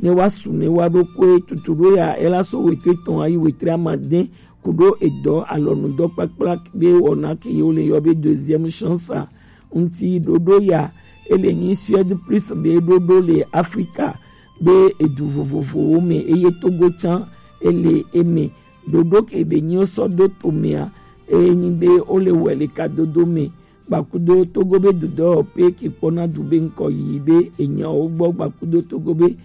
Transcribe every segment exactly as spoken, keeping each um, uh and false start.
ne wa su ne wa ɖo koe tutu ɖo ya ela so wetre tɔn ayi wetre amade kuɖo edɔ alɔnudɔ kpakpla be wɔna ke yewo le yɔ be deuxième chance a ŋuti ɖoɖo ya ele nyi Suède plus be ɖoɖo le Afrika be edu vovovowo me eye Togo tsã ele eme ɖoɖo ke be nyi wo sɔ do to mea eye nyi be wo le wɛ le kadodo me gbakudo Togo be dudɔ pe ke kpɔna du be ŋkɔ yi be enyawo gbɔ gbakudo Togo be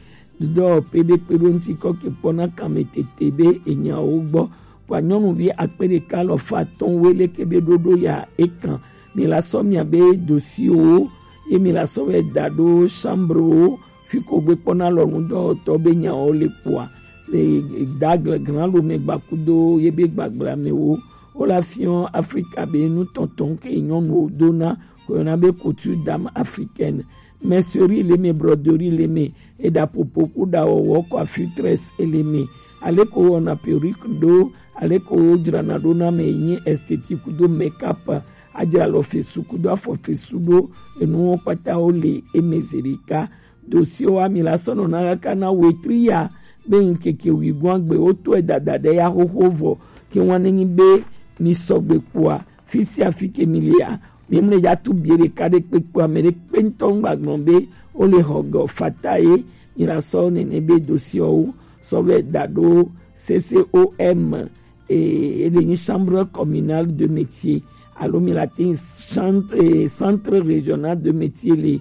dudɔ pe be kpe ɖo ŋuti kɔ ke kpɔna kame tete be enyawo gbɔ kpa nyɔnuvi akpe ɖeka alɔfa atɔ̃ wele ke be ɖoɖo ya ekan mi la sɔ mia be dosiwo ye mi la sɔ vɛ da ɖo chambre wo fi ko gbe kpɔna lɔnu dɔwɔtɔ be nyawo le kpoa le dagle gran lo me gbakudo ye be gbagble amewo wo la fiɔ Afrika be nutɔntɔn ke nyɔnuwo dona ko yɔna be couture dame africaine, mercerie le me, broderie le me, eɖaƒoƒo ku ɖawɔwɔ coiffure tresse ele me, ale ko wɔna perruque ɖo, ale ko wodzrana ɖo na me yi esthétique kudo make-up, adzra alɔ fesu kudo afɔ fesu ɖo, enuwo kpata wo le eme zeɖeka. Dosiwo ami la sɔ nɔna kaka na wetri ya be ŋkeke wigoagbe wotɔe dada ɖe ya xoxo vɔ ke ŋua nenyi be mi sɔgbe kpɔa fi sia fi ke mi lia mi mle ya tu bie ɖeka ɖe kpekpe ame ɖe kpe ŋutɔ ŋgba gblɔ be wo le xɔ gɔ fata ye mi la sɔ nene be dosiwo sɔ vɛ da ɖo C C O M e ele nyi chambre communale de métier alo mi la tin centre, centre régional de métier le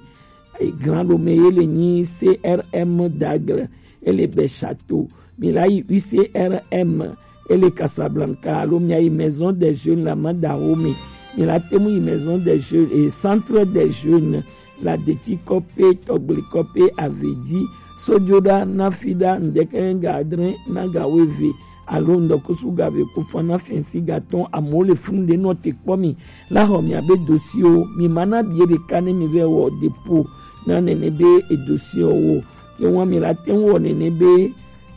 Grand Lomé ye le nyi C R M d'Aigle ele be château mi la yi U C R M ele Casablanca alo mi ayi maison des jeunes la ma da wo me mi la temu yi maison des jeunes et centre des jeunes la deti kɔpe tɔgble kɔpe avedi sojoɖa nafiɖa ŋdɛkɛ ga adre na ga weve alo ŋdɔkusu ga ve kufa na fɛnsi ga tɔn amewo le funu ɖe nɔ te kpɔ mi la xɔ mi abe dosiwo mi ma na bie ɖeka ne mi vɛ wɔ depo na nene be edosiwo wo ke ŋua mi la te ŋu wɔ nene be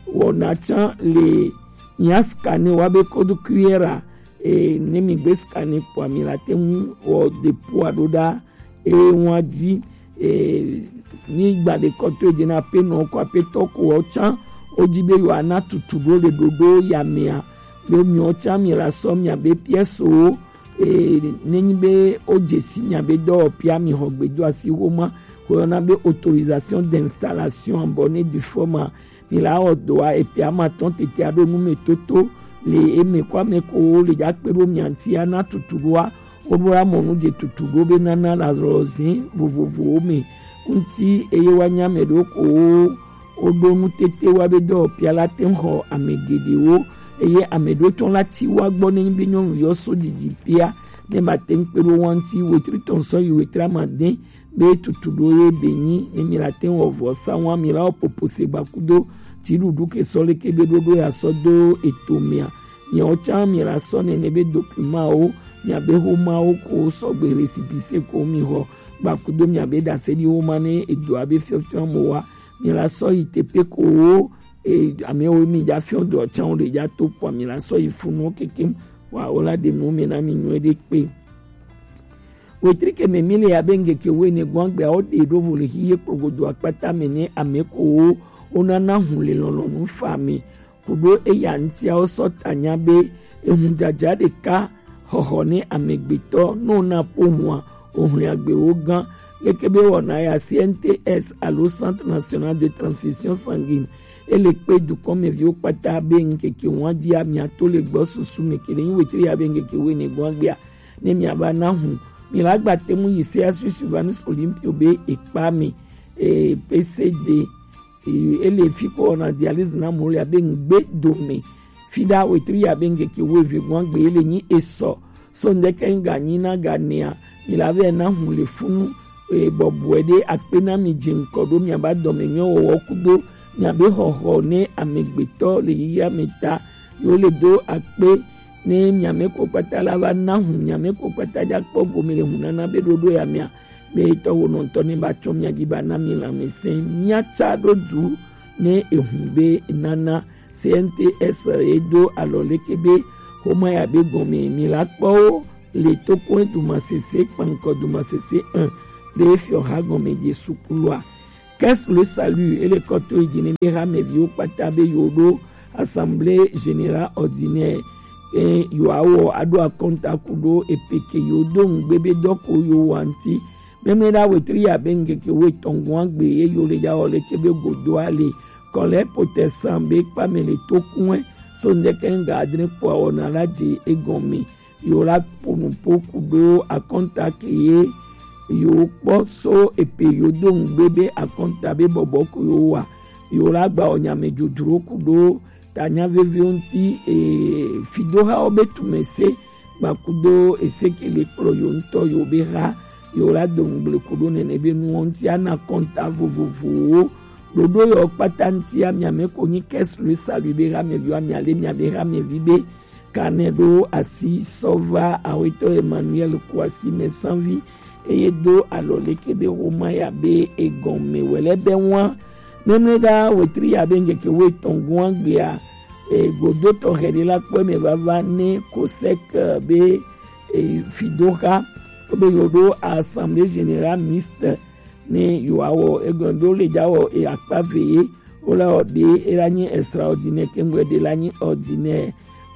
wɔna tsã le nya scanner wa be code Q R a e ne mi gbe scanner kpɔa mi la te ŋu wɔ depo a ɖo ɖa e ŋua di e ni gba ɖe kɔtɔ e dze na ape nɔ kɔ ape tɔ ko wɔ tsã o di be yewoa na tutu ɖo le ɖoɖo ya mea be miɔ tsã mi la sɔ mia be pièce wo e ne nyi be o dze si mia be dɔwɔƒea mi xɔ gbedo asi xoma ko yɔna be autorisation d'installation en bonne et due forme a mi la wɔ dɔa epe ama tɔn tete aɖo nu me toto le eme ko ame ko le dza kpe ɖo mia ŋuti ana tutu ɖoa woɖo amɔ nu dze tutu ɖo be nana le azɔlɔzin vovovowo me ŋuti eye woanya ame ɖewo ko wo woɖo nu tete wa be dɔwɔƒea la te ŋu xɔ ame geɖewo eye ame ɖewo tsɔ la ti wa gbɔ ne nyi be nyɔnu yɔ so didi pia ne ma te ŋu kpe ɖo wa ŋuti wetri tɔn sɔ yi wetri amade be tutu ɖo ye be nyi ne mi la te wɔ vɔ sa wa mi la wɔ popo se gba kudo dziɖuɖu ke sɔ leke be ɖoɖo ya sɔ do eto mia miawo tsã mi la sɔ nene be document wo mia be xoma wo ko sɔgbe récépissé ko mi xɔ gba kudo mia be ɖase ɖi wo ma ne edoa be fiɔfiɔ mo wa mi la sɔ yi teƒe ko wo e, amewo mi dza fiɔ dɔ tsã wo ɖe dza to kpɔ mi la sɔ yi funu kekem wa wo la ɖe nu mi na mi nyuie ɖe kpe. Wetri ke me mi le abe ŋkeke wuiene gbɔn gbea wo ɖe ɖo vo le xixe kplogodo akpata me ne ame ko wo wonana hu le lɔlɔnu fa me kuɖo eya ŋutia wo sɔ ta nya be ehun dzadza ɖeka xɔxɔ ne amegbetɔ no na po hua ohun agbewo gã leke be wɔna ya C N T S alo Centre National de Transfusion Sanguine ele kpe dukɔmeviwo kpata be ŋkeke ŋua dzia miato le gbɔ susu me ke le nyi wetri ya be ŋkeke wuiene gbɔn gbea ne miava na hu mi la gba te ŋu yi se asu Sylvanus Olympio be ekpa me e, P C D e, ele fi ko wɔna dialyse na mo le abe ŋgbe dome fi ɖa wetri ya be ŋkeke wuieve gbɔn gbe ele nyi esɔ so ŋdeke ŋga nyi na ga nea mi la vɛ na hu le funu e, bɔbɔe ɖe akpe na mi dze ŋkɔ ɖo miaba dɔme nyɔ wɔwɔ kudo miabe xɔxɔ ne amegbetɔ le yiya me ta yo le do akpe ne miame ko kpata la va na hu miame ko kpata dza kpɔ gome le hunana be ɖoɖo ya mea be tɔ wo nɔntɔ ne ba tsɔ mia dzi ba na mi lãmesẽ mia tsa ɖo du ne ehu be nana C N T S e do alɔ leke be xoma ya be gɔme mi la kpɔ wo le tokɔe dumasese kpankɔ dumasese un be fiɔ ha gɔme Jesu kulua Qu'est-ce le salut? Ele kɔ to yi ji ne be hameviwo kpata be yewo ɖo assemblée générale ordinaire. E yewoawɔ aɖo akɔnta kudo epeke yewo do ŋugbe be dɔ ko yewo wa ŋuti. Mɛmlɛ ɖa wetri ya be ŋgeke wo etɔn gɔn agbe ye yewo le ja wɔ leke be godo ale. Kɔlɛ potɛ san be kpame le tokun ɛ so ŋdɛkɛ ŋga adre kpɔ awɔ na la je egɔn me. Yewo la po nupo kudo akɔnta ke ye yewo kpɔ so epe yewo do ŋugbe be akɔnta be bɔbɔ ko yewo wa. Yewo la gba wɔ nyame dzodzro kudo tanya veviwo ŋuti, e, fidohawo be tumɛse gba kudo ese ke le kplɔ yewo ŋutɔ yewo be ha. Yewo la do ŋugble kudo nɛnɛ be nuwo ŋuti ana kɔnta vovovowo. Ɖoɖo yewo kpata ŋuti amia me ko nyi Qu'est-ce le salut be hameviwo amia le mia be hamevi be kanɛ ɖo asi sɔ va awetɔ Emmanuel Kouassi mɛ sanvi eye do alɔ leke be Roma ya be egɔn me wɛlɛ bɛ wan. Mɛmlɛ ɖa wetri ya be ŋgeke wo etɔn gɔn agbea, e, godo tɔ hɛ ɖe la kpɔ me vava ne kosɛk be, e, fidoha ko be yewo ɖo assemblée générale mixte ne yewoawɔ egɔn ɖo le ja wɔ e akpa ve ye. Wo la wɔ ɖe e la nyi extraordinaire kengbe ɖe la nyi ordinaire.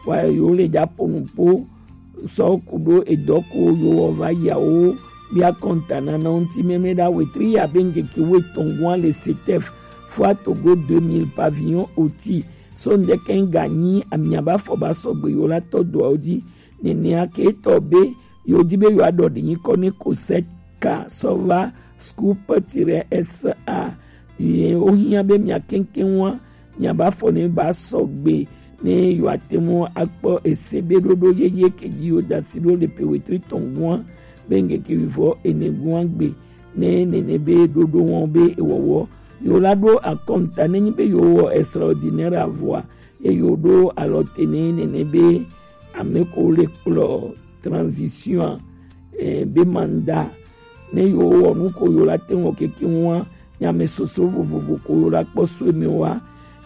Wa yewo le ja po nupo sɔ kudo edɔ ko yewo wɔ va yawo bia kɔnta nana ŋuti mɛmlɛ ɖa wetri ya be ŋgeke wo etɔn gɔn le setef fua Togo deux mille pavillon oti so ŋdɛkɛ ŋga nyi amia ba fɔ ba sɔgbe yewo la tɔ doawo ji. Nɛnɛa ke tɔ be yewo ji be yewo aɖɔ ɖi nyikɔ ne kosɛka sɔ va scoop tiret S A. Ye wo hiã be mia keŋkeŋ wa mia ba fɔ ne ba sɔgbe ne yewo ate ŋu akpɔ ese be ɖoɖo yeye ke ji yewo da si ɖo le pe wetri tɔn gɔn be ŋgeke wivɔ ene gɔn gbe ne nɛnɛ be ɖoɖo wɔn be ewɔwɔ yewo la ɖo akɔnta ne nyi be yewo wɔ extraordinaire avɔa eye woɖo alɔ te nɛ nɛnɛ be ame ko le kplɔ transition, eh, be mandat ne yewo wɔ nu ko yewo la te ŋu keke ŋua nyame soso vovovo ko yewo la kpɔ so eme wa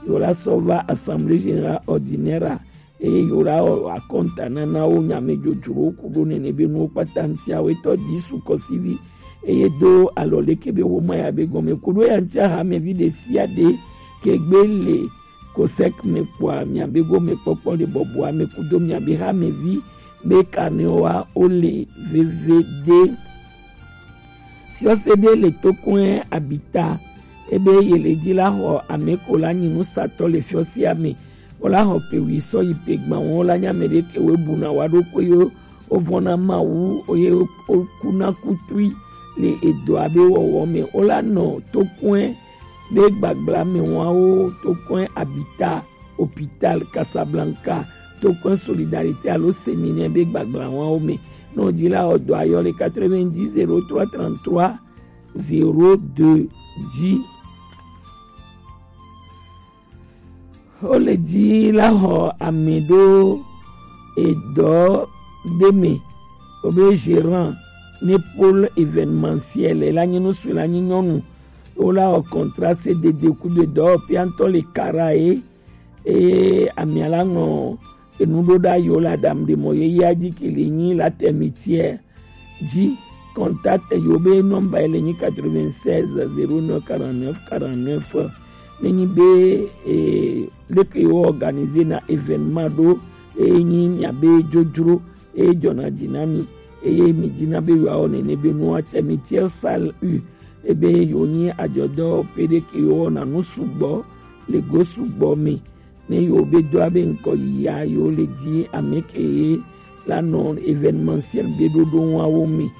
yewo la sɔ va assemblée générale ordinaire a eye yewo la wɔ akɔnta nana wo nyame dzodzro ku ɖo nɛnɛ be nuwo kpata ŋuti awetɔ di su kɔsivi eye do alɔ leke be wo ma ya be gɔme ku ɖo ya ŋuti ahamevi ɖe sia ɖe ke gbe le kosɛk me kpɔa miabe gomekpɔkpɔ le bɔbɔa me kudo miabe hamevi be kanewoa wo le veve ɖe. Fiɔse ɖe le tokɔe abita ebe ye le dzi la xɔ ame ko la nyi nusatɔ le fiɔsea me. Wo la xɔ pe wi sɔ yi pe gban wo la nya me ɖe ke wo buna wa ɖo ko yo wo vɔna Mawu ye wo kuna kutui le edɔa be wɔwɔ me. Wo la nɔ tokɔe be gbagbla me wawo tokɔe abita hôpital Casablanca tokɔe solidarité alo séminaire be gbagbla wawo me. Nɔ dzi la ɔdɔ ayɔ le quatre-vingt-dix zéro trois trente-trois zéro deux dzi. Wo le dzi la xɔ ame ɖo edɔ ɖe me wobe gérant ne pôle événementiel la nye nusu la nye nyɔnu wo la wɔ contrat C D D kudo edɔwɔƒea ŋutɔ le kara ye eye amea la ŋlɔ enu ɖo ɖa yi wo le aɖaŋu ɖe mɔ yeyea dzi ke le nyi la tɛmitiɛ dzi. Contact yi wo be nɔmba yi le nyi quatre-vingt-seize zéro neuf quarante-neuf quarante-neuf. Ne nyi be eh, leke wo organiser na événement ɖo eye nyi mia be dzodzro eye dzɔna dzi na mi eye mi dzi na be yewoawɔ nene be nua tɛmitiɛ salle u ebe yewo nyi adzɔdɔwɔƒe ɖe ke yewo wɔna nu sugbɔ le go sugbɔ me. Ne yewo be do abe ŋkɔ yia yewo le dzi ame ke la nɔ événementiel be ɖoɖo wawo me.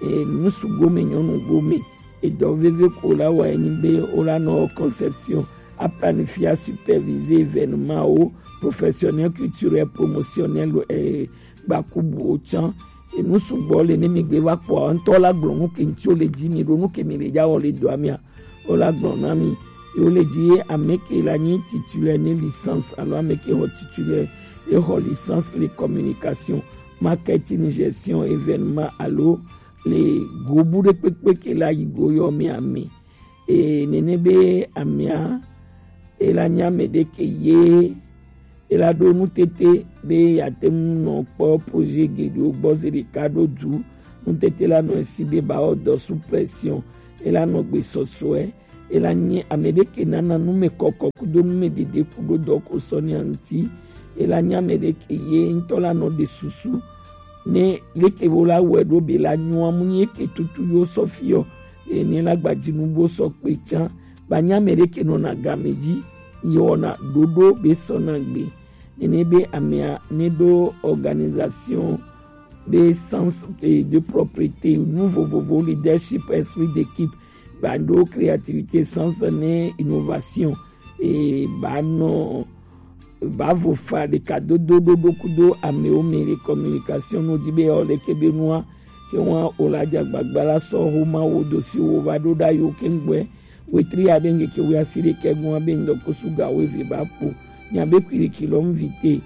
E, nusu gome nyɔnu gome edɔ veve ko la wa enyi be wo la nɔ conception aplanifia superviser événement wo professionnel culturel promotionnel e, gbakubu wo tsã. Enu sugbɔ le ne mi gbe va kpɔa ŋutɔ la gblɔ nu ke ŋuti wo le dzi mi ɖo nu ke mi le dza wɔ le dɔa mea wo la gblɔ na mi. Ye wo le dzi ye ame ke la nyi titulaire ne licence alo ame ke xɔ titulaire ye xɔ licence le communication, marketing, gestion événement alo le gobu ɖe kpekpe ke la yi go yɔ mea me. Eye nene be amea e la nye ame ɖe ke ye e la ɖo nutete be yeate ŋu nɔ kpɔ projet geɖewo gbɔ zi ɖeka ɖo du. Nutete la nɔ esi be ba wɔ dɔ sous pression e la nɔ gbe sɔsɔe Ela nyi ame ɖe ke nana nu me kɔkɔ kudo nu me ɖeɖe kudo dɔ ko sɔ ne aŋti. Ela nyi ame ɖe ke ye ŋutɔ la nɔ ɖe susu ne leke wo la wɔe ɖo be la nyɔ amu nye ke tutu yo sɔ fiɔ ene la gbadzinu bo sɔ kpe tsã. Ba nyi ame ɖe ke nɔna game dzi yɔna ɖoɖo be sɔna gbe. Nene be amea ne ɖo organisation be sens de propriété, nu vovovo, leadership, esprit d'équipe, ba ɖo créativité, sens ne innovation, e ba nɔ ba vo fa ɖeka dodo ɖoɖo kudo amewo me le communication no di be yɔ leke be nua ke wa o la dza gbagba la sɔ ho ma wo do si wo va ɖo ɖa yo ke ŋgbɛ wetri ya be ŋgeke wo asi ɖeke gua be ŋdɔ ko suga wo eve ba kpo nya be kwiriki lɔ mvite.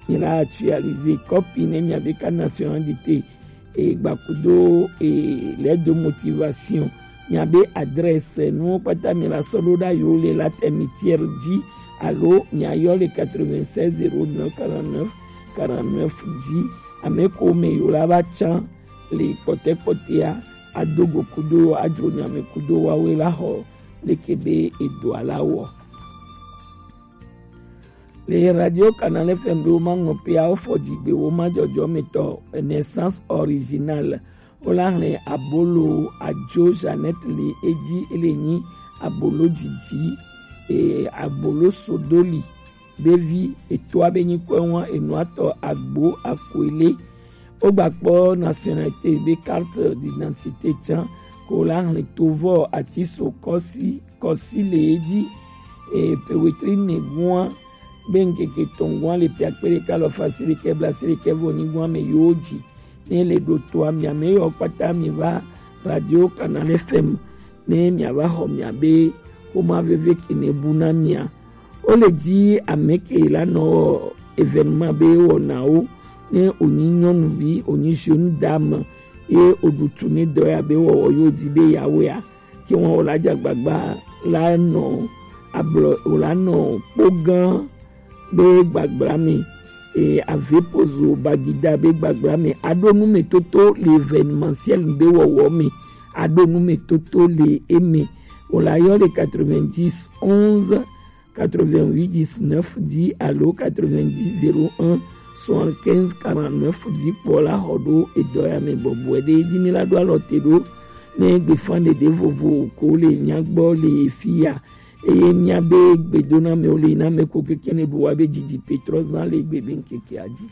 Mi la actualiser copie ne mia be carte nationale d'identité, e gbakudo e lettre de motivation, mia be adresse, nuwo kpata mi la sɔ ɖo ɖa yo le la termitière dzi alo mia yɔ le quatre-vingt-seize zéro neuf quarante-neuf quarante-neuf dzi. Ame ko me yo la va tsã le kpɔtɛkpɔtɛa ado go kudo adzro nyame kudo wawe la xɔ leke be edoa la wɔ. Le Radio Canal F M ɖo ma ŋɔ pe awo fɔ dzigbe wo ma dzɔdzɔ me tɔ naissance originale. Wo la hlɛ abolo adzo Jeannette le edzi ele nyi abolo dzidzi e abolo sodoli be vi etoa be nyi kɔe wa enua tɔ agbo akoele. Wo gba kpɔ nationalité be carte d'identité tsã ko la hlɛ tovɔ ati so kɔsi kɔsi le edzi e pe wetri ne gua be ŋkeke tɔngua le pe akpe ɖeka lɔ fasi ɖekɛ bla si ɖekɛ vɔ nyigua me yo dzi ne le ɖo toa mia me yɔ kpata mi va Radio Canal F M ne mia va xɔ mia be xoma veve ke ne bu na mia. Wo le dzi ame ke la nɔ événement be wɔnawo ne wonyi nyɔnuvi wonyi jeune dame ye woɖu tu ne dɔ ya be wɔwɔ yo dzi be ya wea ke wọn wòle adze agbagba la nɔ ablɔ wòle anɔ kpogã be gbagbla me e avepozo bagida be gbagbla me aɖo nu me toto le événementiel be wɔwɔ me aɖo nu me toto le eme wòle ayɔ le quatre-vingt-dix onze quatre-vingt-huit dix-neuf dzi alo quatre-vingt-dix zéro un soixante-quinze quarante-neuf dzi kpɔ la xɔ ɖo edɔ ya me bɔbɔe ɖe edzi mi la ɖo alɔ te ɖo ne gbefanɖeɖe vovo ko le mia gbɔ le fi ya eye mia be gbedoname wo le yi na me ko keke ne ɖo wa be didi petrɔ zan le gbe be ŋkekea dzi.